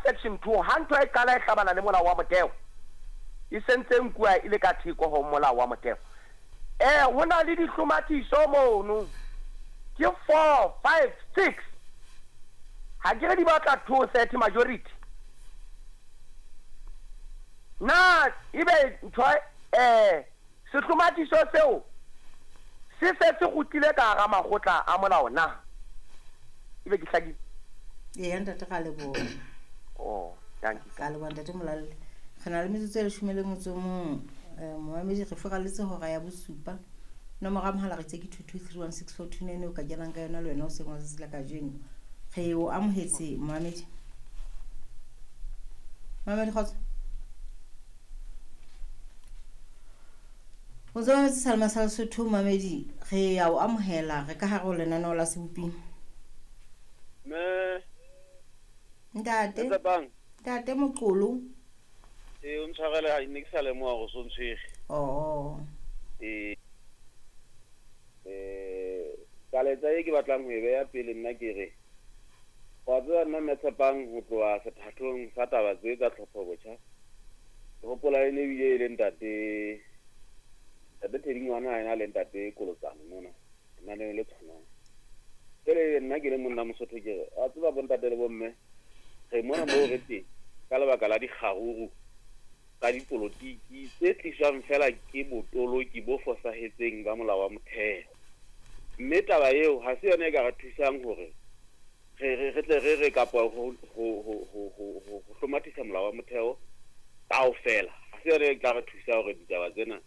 section 2 ha ntho e qala e hlabana le molao wa motheo, e sentse e nkuwa e le ka theko ho molao wa motheo. Ho na le dihlomathiso mono, ke 4, 5, 6. Ha ke re di batla 230 majority. Na ebe ntho sehlomathiso seo se se se kgutlile ka hara makgotla a molao na? Ebe ke hlakile? Eya ntate, ra leboha. Oh, dankie. Ka leboha ntate Molalle. Re na le metsotso e leshome le motso o mong. Momamedi, re furaletse hora ya bosupa. Nomoro ya mohala re itse ke 22316429 o ka kenang ka yona le wena o seng wa tsatsi la kajeno. Re o amohetse momamedi. Momamedi kgotso. O ntse o mametse Salma sa Lesotho momamedi, re ya o amohela re ka hare ho lenaneo la Seboping. Mme Ntate. Tsepang. Ntate Moqolo. Ee, o ntshwarele ha ne ke sa lemoha hore o so ntshwere. Oh. Ee. Kaletsa e ke batlang ho e beha pele nna ke re, wa tseba nna Mme Tshepang ho tloha sethathong sa taba tse tsa tlhopho botjha, ke hopola e ne ebile e le ntate, ntate Teddy Ngwana a ena le ntate Kolotsane mona, lenaneo le tshwanang. Jwale nna ke le monna Mosotho ke re, wa tseba bontate le bomme, re mona moo re teng ka lebaka la dikgaruru tsa dipolotiki tse tliswang fela ke botoloki bo fosahetseng ba molao wa motheo. Mme taba eo ha se yona e ka re thusang hore re tle re re kapa ho hlomathisa molao wa motheo kaofela. Ha se yona e tla re thusa hore ditaba tsena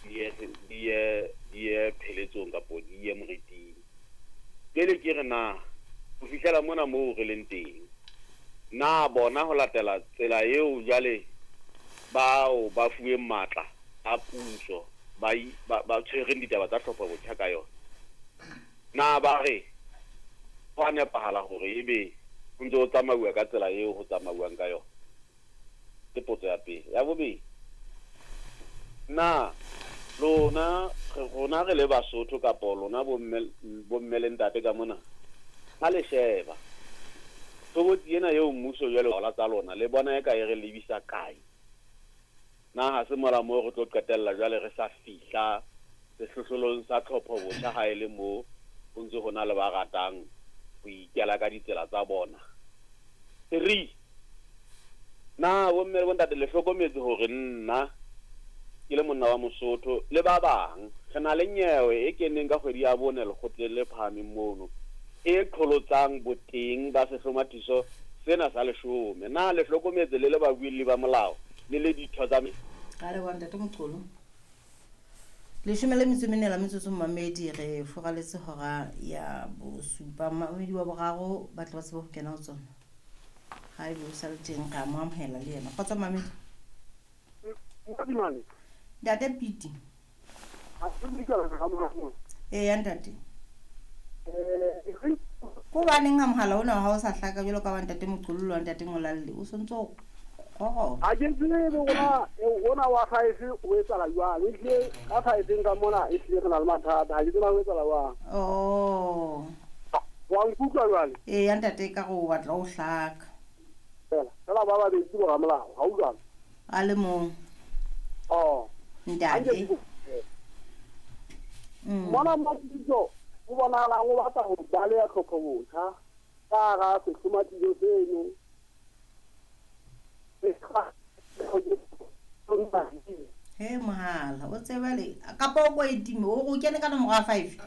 di ye pheletsong kapo di ye moriting. Pele ke re na ho fihlela mona moo re leng teng, na bona ho latela tsela eo jwale bao ba fuweng matla a puso ba tshwereng ditaba tsa tlhopho botjha ka yona, na ba re ho a nepahala hore ebe ho ntse ho tsamauwa ka tsela eo ho tsamauwang ka yona? Ke potso ya pele. Ya bobedi, na lona rona re le Basotho kapo lona bomme le ntate ka mona, ha le sheba tshobotsi ena eo mmuso jwale ola tsa lona le bona e ka e re lebisa kae? Na ha se mola moo re tlo qetella jwale re sa fihla sehlohlolong sa tlhopho botjha ha e le moo ho ntse ho na le ba ratang ho ikela ka ditsela tsa bona? 3, na bomme le bontate le hlokometse hore nna ke le monna wa Mosotho le ba bang re na le nyewe e keneng ka kgwedi ya bone lekgotleng le phahameng mono e qholotsang boteng ba sehlomathiso sena sa leshome. Na le hlokometse le le babuelli ba molao le le ditho tsa Ka leboha ntate Moqolo. Leshome le metso e mene la metsotso momamedi, re furaletse hora ya bosupa. Momamedi wa boraro ba tle ba tsebe ho kena ho tsona. Ha ebe o sa le teng re a mo amohela le yena. Kgotso momamedi. Ntate Piti. Eya ntate. Ko hobaneng ha mohala ona wa hao o sa hlaka jwalo ka wa ntate Moqolo le wa ntate Molalle, o sontso o gogona? Ha ke tsebe hore ona wa five o etsahala jwang. Ehlile ka five ka mona ehlile re na le mathata. Ha ke tsebe ho etsahala jwang. Oh. Wa nkutlwa jwale? Eya ntate, ka re o batla o hlaka. Fela, fela ba babedi ke boramolao, ha o jwalo? A le mong. Oh. Ntate. Mona Mapitso o bonahalang o batla ho baleha tlhopho botjha ka hara sehlomathiso seno. He mohala, o tseba le kapa o ko e time, o o kene ka nomoro ya 5.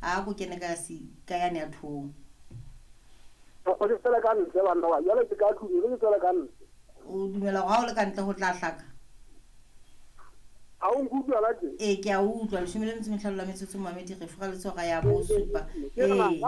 A ko kene ka si ka yane ya thong. O ke tswele ka ntle banna ba, jwale ke ka tlung, ke tswele ka ntle. O dumela hore ha o le ka ntle ho tla hlaka? Ha o nkutlwa la tje? Ee, ke a utlwa. Leshome le metso e mehlano la metsotso momamedi, re furaletse hora ya bosupa. Ee.